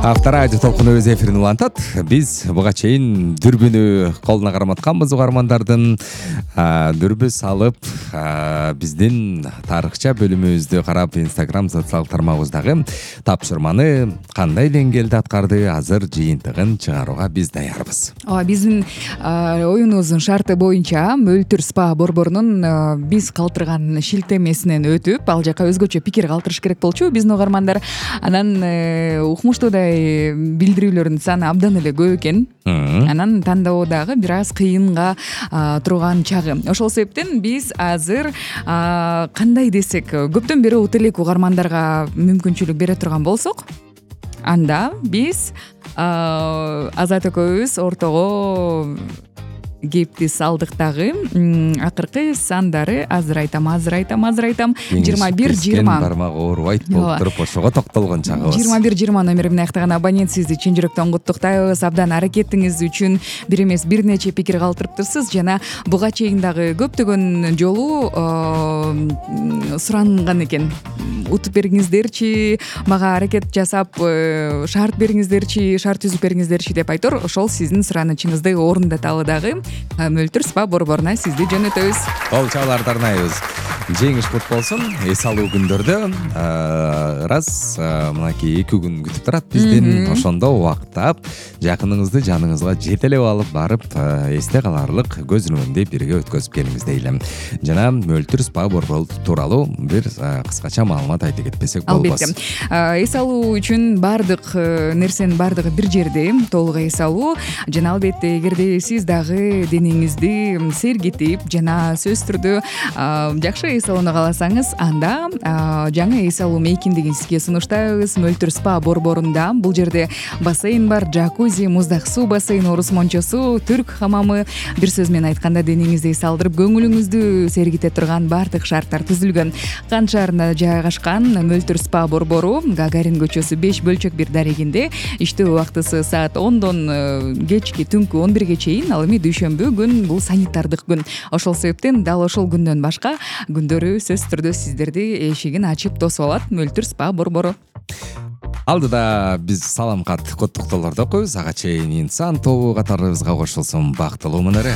Авторадио толкуну өз эфирин улантат. Биз буга чейин дүрбүнү колуна карматканбыз угармандардын. Дүрбү салып, биздин тарыхча бөлүмүбүздү карап, Instagram социалдык тармагыбыздагы тапшырманы кандай деңгээлде аткарды, азыр жыйынтыгын чыгарууга биз даярбыз. Биздин оюнубуздун шарты боюнча Мөлтүр спа борборунун биз калтырган шилтемесинен өтүп, ал жака өзгөчө пикир калтырыш керек болчу биздин угармандар. Анан укмуштуудай билдирүүлөрдүн саны абдан эле көп экен. Анан тандоо дагы бир аз кыйынга турган чагы. Ошол себептен биз азыр кандай десек, көптөн бери уут элек угармандарга мүмкүнчүлүк бере турган болсок, анда биз Азат экөөбүз ортого кепти салдык дагы. Акыркы сандары азыр айтам. 21-20 бармак оорубайт болуп туруп ошого токтолгон чагыбыз. 21-20 номери менен аяктаган абонент сизди чын жүрөктөн куттуктайбыз. Абдан аракетиңиз үчүн бир эмес бир нече пикир калтырыптырсыз жана буга чейин дагы көптөгөн жолу суранган экен. Утуп бериңиздерчи, мага аракет жасап шарт бериңиздерчи, шарт түзүп бериңиздерчи деп айтор. Ошол сиздин суранычыңызды орундаталы дагы. Мөлтүр спа борборуна сизди жөнөтөбүз. Кол чабууларды арнайбыз. Жеңиш кут болсун. Эс алуу күндөрдө мынакей 2 күн күтүп турат биздин. Ошондо убактап, жакыныңызды жаныңызга жетелеп алып барып, эсте каларлык көз өнүндө бирге өткөзүп келиңиз дейли. Жана Мөлтүр спа борбору тууралуу бир кыскача маалымат айтып кетпесек болбос. Албетте. Эс алуу үчүн бардык нерсенин бардыгы бир жерде, толук эс алуу. Жана албетте, эгерде сиз дагы денеңизди сергитип жана сөзсүз түрдө жакшы эс алууну кааласаңыз, анда жаңы эс алуу мейкиндигин сизге сунуштайбыз. Мөлтүр спа борборунда бул жерде бассейн бар, джакузи, муздак суу бассейни, орус мончосу, түрк хамамы, бир сөз менен айтканда денеңизди эс алдырып, көңүлүңүздү сергите турган бардык шарттар түзүлгөн. Кан шаарында жайгашкан Мөлтүр спа борбору Гагарин көчөсү 5 бөлчөк 1 дарегинде. Иштөө убактысы саат 10дон кечки түнкү 11ге чейин. Ал эми дүйшөмбү күн бул санитардык күн. Ошол себептен дал ошол күндөн башка күндөрү сөзсүз түрдө сиздерди эшигин ачып тосуп алат Мөлтүр спа борбору. Алдыда биз салам кат, куттуктоолорду окуйбуз. Ага чейин инсан тобу катарыбызга кошулсун. Бактылуу мынары.